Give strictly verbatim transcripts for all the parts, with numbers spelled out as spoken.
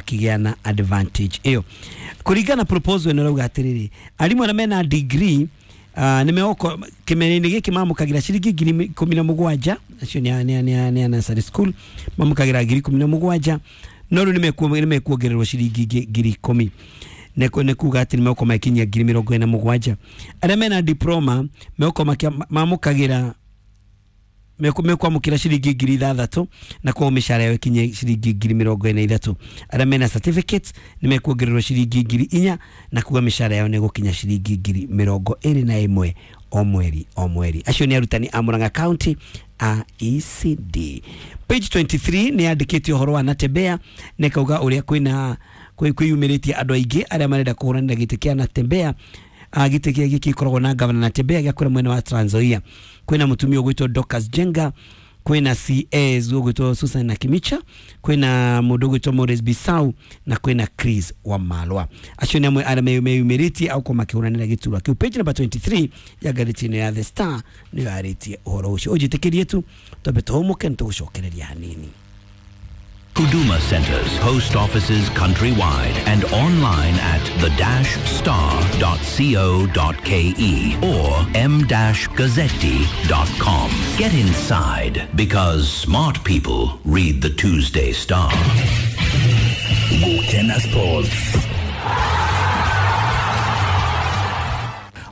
makĩgĩa na advantage ĩyo. Kũringana proposal ĩno ĩrauga atĩrĩrĩ, arimũ arĩa mena degree uh, nĩ megũkorwo kĩmera-inĩ gĩkĩ mamũkagĩra ciringi ngiri ikũmi na mũgwanja, acio nĩ a- nĩ a- nĩ a- nĩ a nursery school mamũkagĩra ngiri ikũmi na mũgwanja, no rĩu nĩ mekuongererwo ciringi ingĩ ngiri ikũmi, nĩ kuga atĩ nĩ megũkorwo magĩkinyia ngiri mĩrongo ĩna mũgwanja. Arĩa mena diploma megũkorwo mamũkagĩra mekwamũkĩra ciringi ngiri ithathatũ, na koguo mĩcara yao ĩkinye ciringi ngiri mĩrongo ĩna ithatũ. Arĩa mena certificates nĩ mekuongererwo ciringi ngiri inya, na kuga mĩcara yao nĩ ĩgũkinya ciringi ngiri mĩrongo ĩrĩ na ĩmwe o mweri o mweri. Acio nĩ arutani a Murang'a County a E C D. Page twenty-three nĩ yandĩkĩte ũhoro wa Natembeya, na ĩkauga ũrĩa kwĩna kwĩyumĩrĩtie andũ aingĩ arĩa marenda kũhũranĩra gĩtĩ kĩa Natembeya, gĩtĩ kĩa gĩkĩ gĩkoragwo na gavana Natembeya gĩa kũrĩa mwena wa Trans Nzoia. Kwĩna mũtumia ũgwĩtwo Dorcas Jenga, kwĩna C S ũgwĩtwo Susan Nakimicha, kwĩna mũndũ ũgwĩtwo Maurice Bisau, na kwĩna Chris Wamalwa. Acio nĩ amwe arĩa meyumĩrĩtie au kwa makĩhũranĩra gĩturwa kĩu. Page number twenty-three ya ngathĩti ĩno ya The Star nĩyo yarĩtie ũhoro ũcio. Ũnjĩtĩkĩrie tu twambe tũhũmũke, nĩ tũgũcokereria hanini. Huduma centers, post offices countrywide, and online at the dash star dot co dot ke or m dash gazzetti dot com. Get inside, because smart people read the Tuesday Star. Gukena Sports.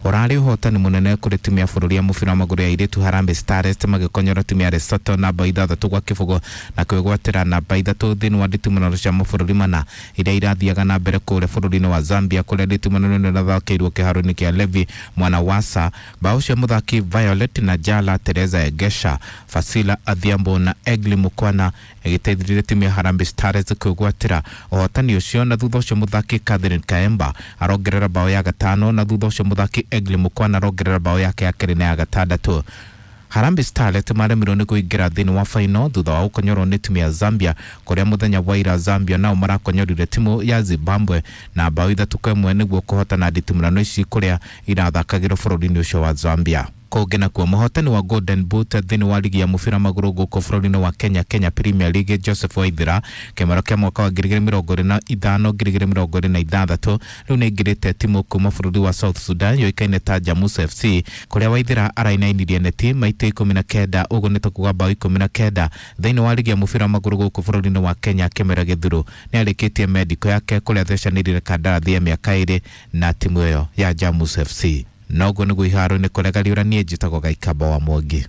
Orari ũhotani mũnene kũrĩ timu ya bũrũri ya mũbira wa magũrũ ya airĩtu Harambee Stars magĩkonyora timu ya Lesotho namba ithathatũ gwa kĩbũgũ na kwĩgwatĩra namba ithatũ thĩinĩ wa nditimũrano cia mabũrũri mana iria irathiaga na mbere kũrĩa bũrũri-inĩ wa Zambia, kũrĩa nditimũrano ĩno ĩrathakĩirwo kĩharo-inĩ kĩa Levi Mwanawasa. Bao cia mũthaki Violet na Jala Teresa Egesha, Fasila Adhiambo na Egli Mukwana ĩgĩteithĩrĩria timu ya Harambee Stars kwĩgwatĩra ũhotani ũcio, na thutha ũcio mũthaki Catherine Kaemba arongerera bao ya gatano, na thutha ũcio mũthaki Egli Mukwana arongerera bao yake ya kerĩ na ya gatandatũ. Harambee Starlets maremirwo nĩ kũingĩra thĩinĩ wa final thutha wa gũkonyorwo nĩ timu ya Zambia, kũrĩa mũthenya wa ira Zambia nao marakonyorire timu ya Zimbabwe na bao ithatũ kwa ĩmwe nĩguo kũhotana nditimũrano ici kũrĩa irathakagĩrwo bũrũri-inĩ ũcio wa Zambia. Kũngĩ nakuo, mũhotani wa Golden Boot thĩinĩ wa ligi ya mũbira magũrũ gũkũ bũrũri-inĩ wa Kenya, Kenya Premier League, Joseph Waithera, kĩmero kĩa mwaka wa ngiri igĩrĩ mĩrongo ĩrĩ na ithano ngiri igĩrĩ mĩrongo ĩrĩ na ithathatũ, rĩu nĩ aingĩrĩte timu kuma bũrũri wa South Sudan yũĩkaine ta Jamus F C, kũrĩa Waithera arainainirie neti maita ikũmi na kenda, ũguo nĩ ta kuga bao ikũmi na kenda thĩinĩ wa ligi ya mũbira magũrũ gũkũ bũrũri-inĩ wa Kenya. Kĩmera gĩthuru nĩ arĩkĩtie mendiko yake kũrĩa athecanĩrire kandarathi ya mĩaka ĩrĩ na timu ĩyo ya Jamus F C. Noguo nĩguo iharo-inĩ kũrĩa gariũranie njĩtagwo Gaikamba wa Mwangi.